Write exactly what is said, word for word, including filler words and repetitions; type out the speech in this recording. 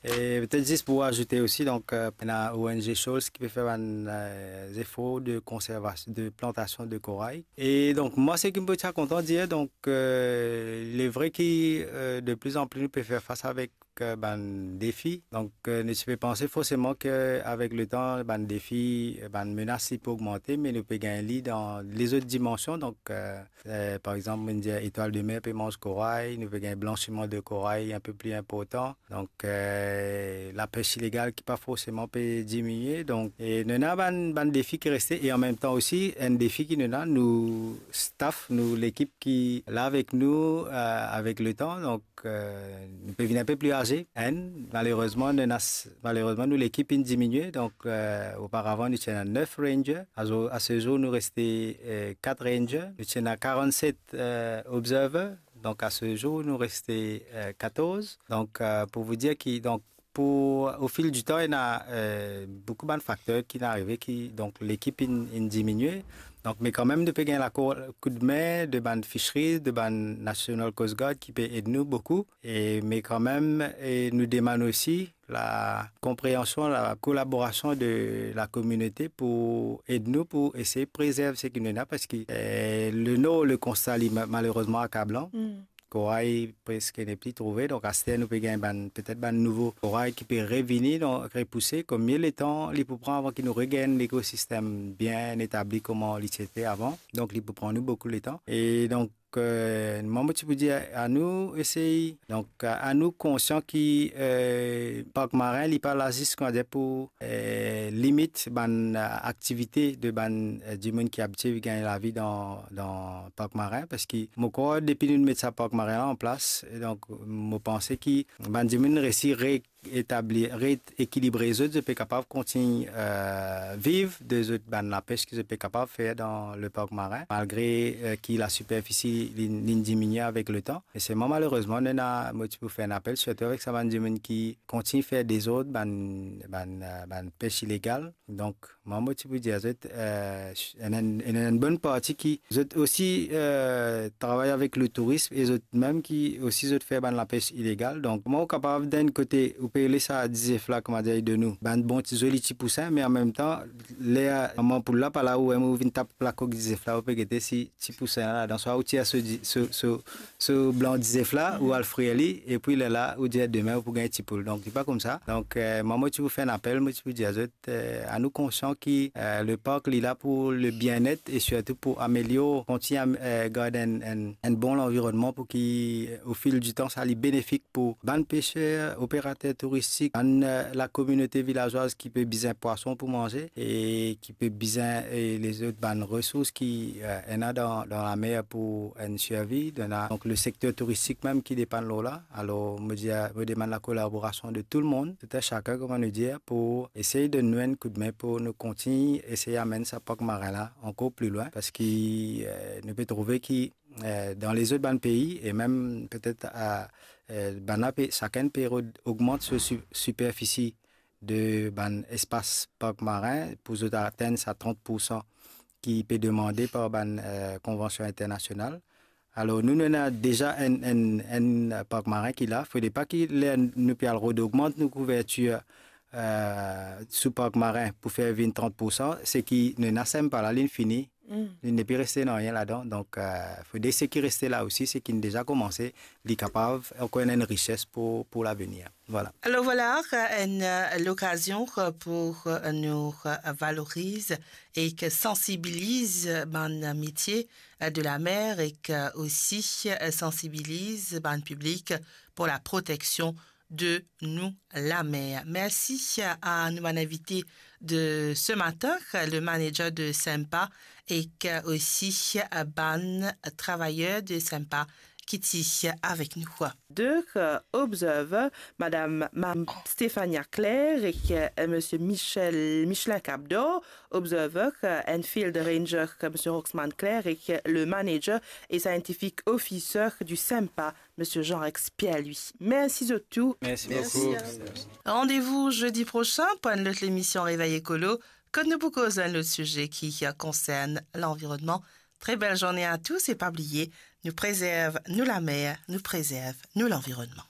E petet zis pou azoute osi, donk, euh, ena O N G Shoals ki pe fer bann, euh, zefor de konservas-, de plantasion de koray. E donk, mwa, seki mo ti a kontan dir, donk, euh, il est vrai ki, euh, de plus en plus nou pe fer fas avek, euh, bann defi. Donk, euh, nou ti pe panse forseman ke avek letan, bann defi, euh, bann menas, li pe ogmante, me nou pe gagn li dan lezot dimansion. Donk, euh, euh, par exanp, mo dir etwal de mer pe manz koray, nou pe gagn blansiman de koray inpe pli inportan. Donk, euh, lapes ilegal ki pa forseman pe diminie. Donk, e nou ena bann, bann defi ki reste, e an mem tan osi, enn defi ki nou ena, nou staff, nou lekip ki la avek nou, euh, avek letan. Donk, euh, nou pe vinn inpe pli aze, enn, malerezman, nou ena s-, malerezman, nou lekip inn diminie. Donk, euh, oparavan, nou ti ena nef ranger. Azo-, a se zour, nou reste, euh, kat ranger. Nou ti ena karannset, euh, observer. Donk, a se zour, nou reste, euh, katorz. Donk, euh, pou vous dire ki, donk, pou, au fil du temps, ena, euh, boukou bann fakter ki inn arive ki, donk, lekip inn, inn diminie. Donk, me kanmem, nou pe gagn lakour, koudme de bann fisheries, de bann National Coast Guard ki pe ed nou boukou. E, me kanmem, e nou demann osi lakonpreansion, lakolaborasion de lakominote pou ed nou pou esey prezerv seki nou ena, parski, eh, le Nor, le konsta, li ma-, malerezman akablan. Mm. Koray preske nepli trouve, donk aster nou pe gagn bann, petet bann nouvo koray ki pe revini, donk repouse, konbien letan li pou pran avan ki nou regagn lekosistem bien etabli kouma li ti ete avan. Donk, li pou pran nou boukou letan. E donk, euh, mwa, mo ti pou dir a nou esey, donk, a nou konsian ki, euh, park marin, li pa la zis, kouma dir, pou, euh, limit bann, euh, aktivite de bann, euh, dimoun ki abitie gagn lavi dan, dan park marin, parski mo krwar depi nou met sa park marin la an plas, e donk, mo panse ki bann dimoun resi re-, etabli, reekilibre zot, zot pe kapav kontign, euh, viv de zot bann lapes ki zot pe kapav fer dan le park marin, malgre, euh, ki lasiperfisi li, li diminie avek letan. E selman, malerezman, nou ena, mo ti pou fer enn apel, sirtou avek sa bann dimoun ki kontign fer dezord, bann, bann, euh, bann pes ilegal. Donk, mwa, mo ti pou dir zot, euh, ena enn, ena enn bonn parti ki zot osi, euh, travay avek le tourism e zot mem ki osi zot fer bann lapes ilegal. Donk, kouma ou kapav, dan enn kote, ou pe les sa dizef la, kouma dir, de nou, bann bon ti zoli ti pousin, me an mem tan, ler mama poul la pa la, ou mem ou vinn tap lakok dizef la, ou pe gete si ti pousin la ladan, swa ou tir so di-, so, so, so blan dizef la, ou al frir li, epi lerla, ou dir demin ou pou gagn ti poul. Donk, li pa koumsa. Donk, euh, mwa, mo ti pou fer enn apel, mo ti pou dir zot, euh, a nou konsian ki, euh, le park, li la pou le bienet e sirtou pou amelior, kontign am-, euh, gard enn, enn, enn bon lanvironnman pou ki, euh, au fil du temps, sa li benefik pou bann peser, operater touristik, bann, euh, lakominote vilazwaz ki pe bizin pwason pou manze e ki pe bizin, e lezot bann resours ki, euh, ena dan, dan lamer pou enn sirvi, ena donk le sekter touristik mem ki depann lor la. Alor, mo dir, mo demann lakolaborasion de tou le mond, tout un chacun, kouma nou dir, pou esey donn nou enn koudme pou nou kontign esey amenn sa park marin la ankor pli lwin, parski, euh, nou pe trouve ki, euh, dan lezot bann pei, e mem petet, euh, euh, bann la pe, sakenn pe rod-, ogmant so si-, siperfisi de bann espas park marin pou zot atenn sa trant poursan ki pe demande par bann, euh, konvansion internasional. Alor, nou, nou ena deza enn, enn, enn park marin ki la. Fode pa ki ler nou pe al rod ogmant nou kouvertir, euh, sou park marin pou fer vinn trant poursan, seki nou ena SEMPA la, linn fini. Mm. Li nepli reste nanye ladan. Donk, euh, fode seki reste la osi, seki inn deza koumanse, li kapav ankor enn rises pou, pou lavenir. Voilà. Alors voilà, euh, une, euh, l'occasion, euh, pour, euh, nous, euh, valoriser et que sensibiliser, euh, bann métier, euh, de la mer et que aussi, euh, sensibiliser bann public pour la protection de nou lamer. Mersi a nou bann invite de ce matin, le manager de SEMPA ek osi bann travayer de SEMPA ki ti avek nou. De, euh, Observer, madam, madam Stéphania Claire ek, euh, monsieur Michel, Michelin Capdor, Observer, euh, and Field Ranger, euh, monsieur Roxman Claire ek, euh, le manager et scientific officer du SEMPA, monsieur Jean-Rex Pierre-Louis. Mersi zot tou. Mersi boukou. Mersi. Rendez-vous jeudi prochain pour une autre émission Réveil Écolo, kot nou pou koz enn lot size ki konsern lanvironnman. Très belle journée à tous et pas oublier, nou prezerv nou lamer, nou prezerv nou lanvironnman.